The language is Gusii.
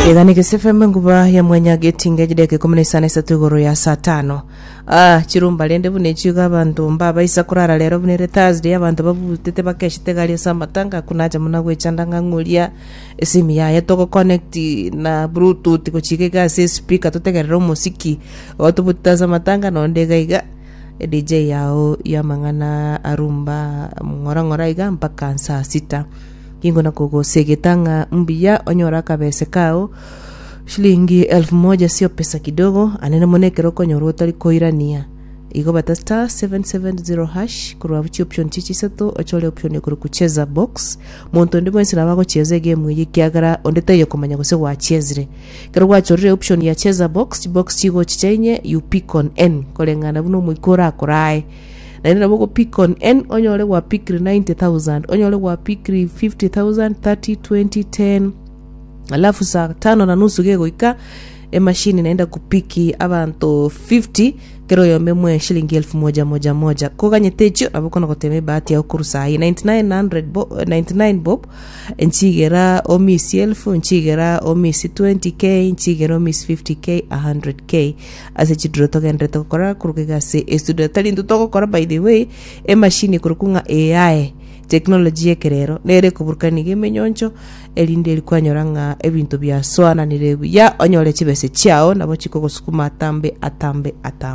Iga ni Gese FM enguba ya mwenya getinga ejideka 13 igoro ya saa tano. Ah, chirumba rende buna echio iga abanto mbabaisa korara rero buna ere Thursday abanto babutete bakeshete gari ase amatanga akunacha muna gwechanda ng'a ng'oria esimi yaye togoconnect na bluetooth gochika iga ase espeaker totegerere omosiki igo tobutete ase amatanga nonde iga iga edj yao y'amang'ana arumba ng'ora ng'ora iga mpaka saa sita. Nigo nakogosegeta ng'a mbuya onyore akabese kao shilingi elfu moja sio pesa kidogo, anene mono ekero okonyora otari koirania. Igo bata star 770 hash korwa abwo chioption chiche isato ochore option ekorokwa cheza box. Monto onde bwensi nabo agochieza egame eye ekiagera onde taiyo komanya gose gwachezire. Ekero gwachorire option ya cheza box, chibox chigochicha inye you pick on any koreng'ana buna omoika orakorae. Naende nabo ogopick on any onyore gwapikire 90,000 onyore gwapikire 50,000 30 20 10 alafu saa tano na nusu gegoika emashini naende akupiki abanto 50 kera oyomo emwe shilingi elfu moja moja moja koganyete echio nabo okona gotema ebahati yao korwa saa hii 9900 bo, 99 bob nchigera omisi elfu nchigera omisi 20k nchigera omisi 50k 100k Ase chiduro togenderete gokora korwa iga ase estudio. Tari intwe togokora by the way, emachine ekorokwa ng'a AI, technology y'ekerero, nere ekoburukania iga emenyoncho, erinde eri kwanyora ng'a ebinto biasoananire buya, onyore chibese chiao nabo chikogosukuma atambe atambe atambe.